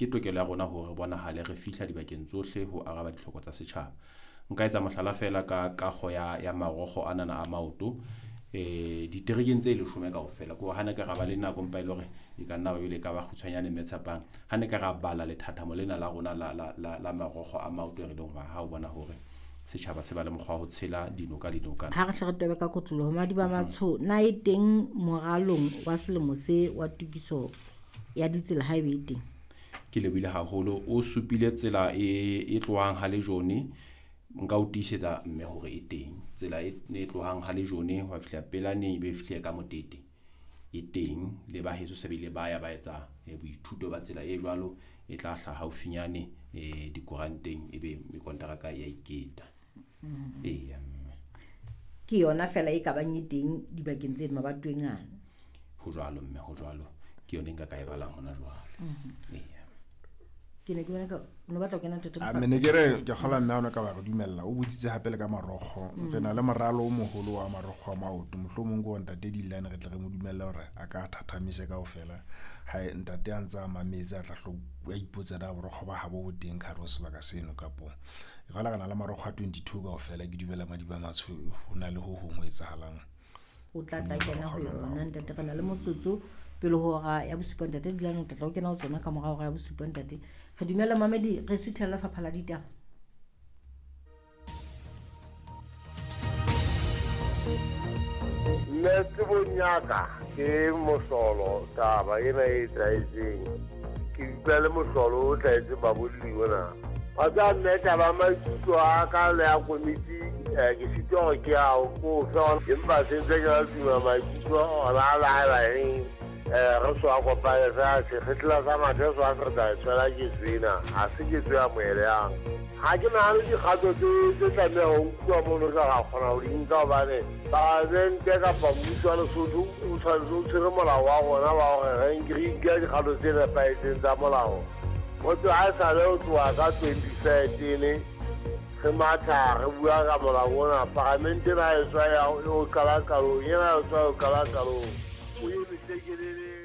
Ke tokelo ya rona hore re bonahale re fihla dibakeng tsohle ho araba ditlhoko tsa setjhaba. Nka etsa mohlala feela ka kago ya marokgo anana a maoto diterekeng tse leshome kaofela. Ke hore ha ne ka ra ba le nako empa e le hore e ka nna ba ebile e ka ba kgutshwanyane mme Tshepang. Ha ne ka ra bala lethathamo lena la rona la marokgo a maoto e re leng hore ha o bona hore setjhaba se ba le mokgwa wa ho tshela dinoka le dinokana. Ha re hle re tobe ka kotloloho, Madiba Matsho, na e teng moralong wa selemo se wa tokiso ya ditsela haebe e teng? Ke lebohile haholo. O supile tsela e tlohang ha Lejone. Nka o tiisetsa mme hore e teng. Tsela e tlohang ha Lejone ho fihla Pelaneng e be e fihle ka Motete e teng. Le ba heso se bile ba ya ba etsa boithuto ba tsela e jwalo, e tla hlaha haufinyane dikoranteng ebe mekonteraka ya iketa. Eya mme. Ke yona fela e ka bang e teng dibakeng tse mabatoweng ana. Ho jwalo mme, ho jwalo. Ke yona e nka ka e balang hona jwale. Eya. Ke ne ke bona ka o no batla ho kena ntate A Mokgwa? me ne ke re ke kgolwa mme ha o ne ka ba re dumella o botsitse hape le ka marokgo. Re na le moralo o moholo wa marokgo a maoto. Mohlomong ke hore ntate Dillane re tle re mo dumelle hore a ka thathamise kaofela. Hae ntate a ntse a mametse a tla hlo a ipotsa na borokgo ba habo bo teng ka hare ho sebaka seno kapo. Ke kgolwa re na le marokgo a 22 kaofela. Ke dumela Madiba Matsho ho na le ho hong ho etsahalang. O tla tla kena ho yona ntate. Re na le motsotso pele ho hora ya bosupa ntate Dillane, o tla tla o kena ho tsona ka mora hora ya bosupa ntate. Re dumela mamedi, re suthela lefapha la ditaba. Nna tsebong ya ka ke mohlolo taba ena e etsahetseng. Ke utlwa le mohlolo o hlahetseng babolli ona. Wa tseba mme taba ya maikutlo a ka le ya komiti ke sitwa hore ke a ko fe, empa se ntse ke la tuma maikutlo ona a laela eng. Re so a kopane fela sekgetla sa mathe so a se re tla e tshwela ketso ena, ha se ketso ya moeleyang. Ha ke nahane dikgato tse tlameha ho nkuwa mono tla ra kgona ho di nka hobane palamente kapa mmuso wa Lesotho o tshwanetse o tshwere molao wa rona wa hore re nke dikgato tse nepahetseng tsa molao. Motho ha e sale ho tloha ka 2013 re matha re bua ka molao ona, palamente ena e tswa ya o qala qalong, ena e tswa o qala qalong. O eme tlekelele.